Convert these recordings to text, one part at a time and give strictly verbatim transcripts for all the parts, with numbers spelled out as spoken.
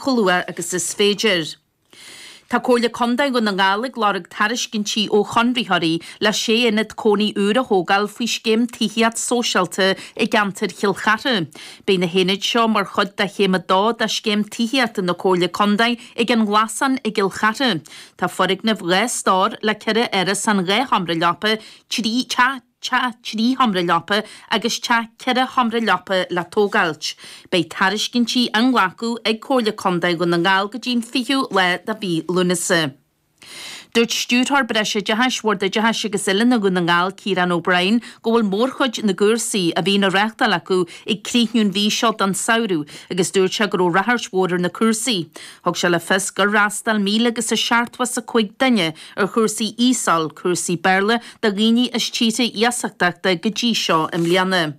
chomh luath agus is féidir. Tá Comhairle Contae Dhún na nGall ag lorg tairiscintí ó chonraitheoirí le sé aonad cónaí úr a thógáil faoi scéim tithíocht sóisialta i gceantar Chill Chartha. Beidh na haonaid seo mar chuid de chéim a dó de scéim tithíochta na Comhairle Contae ag an nGlasán i gCill Chartha. Tá foirgneamh dhá stór le ceithre árasán dhá sheomra leapa, trí teach teach trí sheomra leapa agus teach ceithre sheomra leapa le tógáilt. Beidh tairiscintí á nglacadh ag Comhairle Contae Dhún na nGall go dtí an fichiú lá de mhí Lúnasa. Dúirt Stiúrthóir Breisoideachais Bhord Oideachais agus Oiliúna Dhún na nGall Ciarán O'Brien go bhfuil mórchuid na gcúrsaí a bhíonn á reáchtáil acu ag críochnú an mhí seo don samhradh agus dúirt sé go raibh ráchairt mhór ar na cúrsaí. Thug sé le fios gur fhreastail míle agus a seachtó is a cúig duine ar chúrsaí ESOL, cúrsaí Béarla do dhaoine as tíortha iasachtachta go dtí seo i mbliana.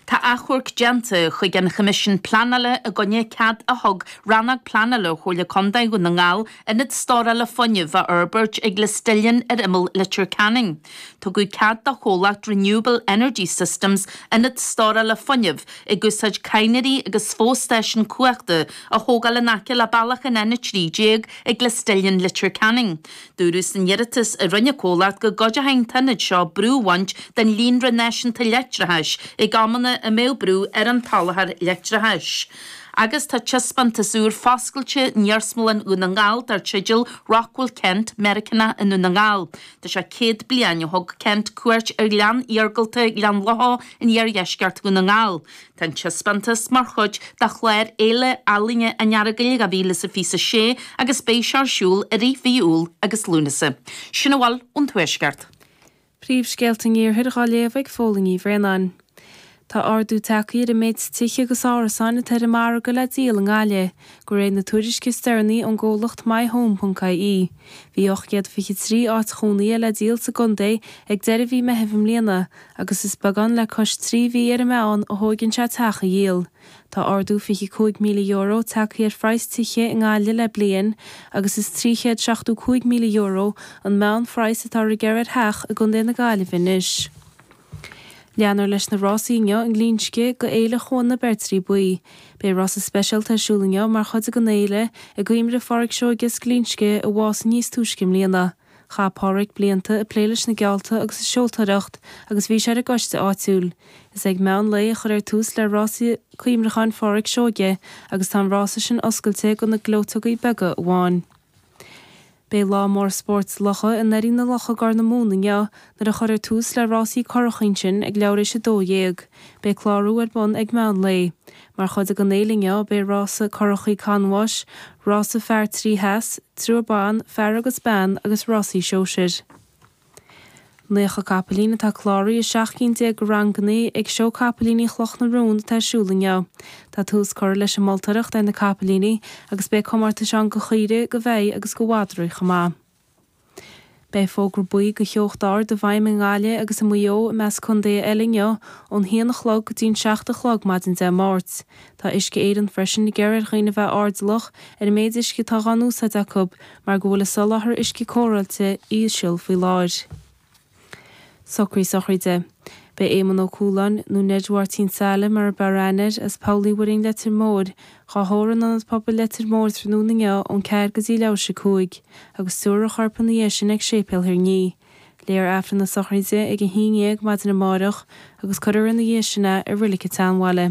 Tá achomharc déanta chuig an Choimisiún Pleanála i gcoinne cead a thug Rannóg Pleanála Chomhairle Contae Dhún na nGall ionad stórála fuinnimh a fhorbairt ag Lisdillon ar imeall Leitir Ceanainn. Tugadh cead do chomhlacht Renewable Energy Systems ionad stórála fuinnimh ag úsáid cadhnraí agus fo-stáisiún cumhachta a thógáil in aice le bealach an N a trí déag ag Lisdillon Leitir Ceanainn. Dúradh san iarratas a rinne an comhlacht go gcuideoidh an t-ionad seo brú a bhaint den líonra náisiúnta leictreachais ag amanna a mbeadh brú ar an tsoláthar leictreachais. Agus tá taispeántas úr foscailte in Iarsmalann Dhún na nGall dar teideal Rockwell Kent, Meiriceánach i nDún na nGall. Tá sé céad bliain ó thug Kent cuairt ar ghleann iargúlta Ghleann Locha in iardheisceart Dhún na nGall. Tá an taispeántas mar chuid de chlár Fhéile Ealaíne an Earagail dhá mhíle is a fiche a sé agus beidh sé ar siúl i rith mhí Iúil agus Lúnasa. Sin a bhfuil ón Tuaisceart. Príomhscéalta an Iarthair á léamh ag Fódhla Ní Bhraonáin. Tá ardú tagtha ar an méid tithe agus árasáin atá ar an margadh le díol i nGaillimh, de réir na tuairisce is deireanaí ón gcomhlacht myhome.ie. Bhí ocht gcéad fiche trí áit chónaithe le díol sa gcontae ag deireadh mhí Mheithimh i mbliana, agus is beagán le cois trí mhí ar an meán a thógann sé teach a dhíol. Tá ardú fiche cúig míle euro tagtha ar phraghas tithe i nGaillimh le bliain, agus is trí chéad seachtó cúig míle euro an meánphraghas atá ar gearradh ar theach i gContae na Gaillimhe anois. Leanfar leis na rásaí inniu i nGlinsce go Fhéile Chuan na Beirtrí Buí. Beidh rása speisialta ar siúl inniu mar chuid den fhéile i gcuimhne ar Pháraic Seoige as Glinsce a bhásaigh níos túisce i mbliana. Chaith Páraic blianta ag plé leis na geallta agus ag seoltóireacht agus bhí sé ar an gcoiste áitiúil. Is ag meán lae a chuirfear tús le rásaí cuimhneacháin Pháraic Seoige agus tá an rása sin oscailte do na gleoiteogaí beaga amháin. Beidh lá mór spóirt locha i nDoirín na Locha Gor na Móna inniu nuair a chuirfear tús le rásaí curach ansin ag leathuair théis a dó dhéag. Beidh clárú ar bun ag meán lae. Mar chuid den fhéile inniu beidh rása curachaí canbháis, rása fear trí theas, triúr ban, fear agus bean agus rásaí sóisir. Naocha capaillín atá cláraithe i seacht gcinn déag de ranganna ag seó capaillíní Chloch na Rón atá ar siúl inniu. Tá tús curtha leis an moltóireacht ar na capaillíní agus beidh comórtais ann do chaoirigh, do bheithe agus do mhadraí chomh maith. Beidh fógra buí do theocht ard i bhfeidhm i nGaillimh agus i Maigh Eo i measc contaetha eile inniu ón haon a chlog go dtí an seacht a chlog maidin Dé Máirt. Tá Uisce Éireann freisin ag iarraidh ar dhaoine bheith airdeallach ar an méid uisce atá á n-úsáid acu mar go bhfuil a soláthar uisce cóireáilte íseal faoi láthair. Socruithe sochraide. Beidh Éamonn Ó Cualáin, nó Ned Mháirtín Saile mar ab fhearr aithne air, as Poll Uí Mhuirinn Leitir Móir, dhá thórramh in Ionad Pobail Leitir Móir tráthnóna inniu ón ceathair go dtí leathuair théis a cúig, agus tabharfar a chorp ina dhiaidh sin ag Séipéal Thír an Fhia. Léifear Aifreann na sochraide ag a haon dhéag maidin amárach agus cuirfear ina dhiaidh sin é i Reilig an tSeanbhaile.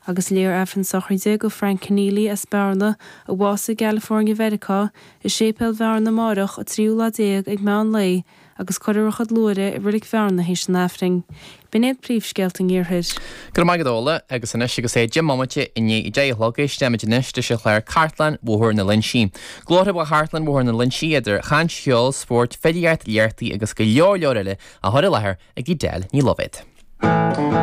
Agus léifear Aifreann sochraide go Frank Keneally as Bearna a bhásaigh i gCalifornia Mheiriceá i Séipéal Bhearna amárach an tríú lá déag ag meán lae agus cuirfear a chuid luaithre i Reilig Bhearna théis an Aifrinn. B'in iad príomhscéalta an Iarthair. Go raibh maith agat Ola agus anois agus é deich mbomaite i ndiaidh a deich a chlog éistfimid anois leis an chlár Cartlann Bhóthar na Loinsí. Glórtha ó Chartlann Bhóthar na Loinsí idir chaint cheol, spórt, filíocht, léachtaí agus go leor leor eile á chur i láthair ag Edel Ní Loibhéad.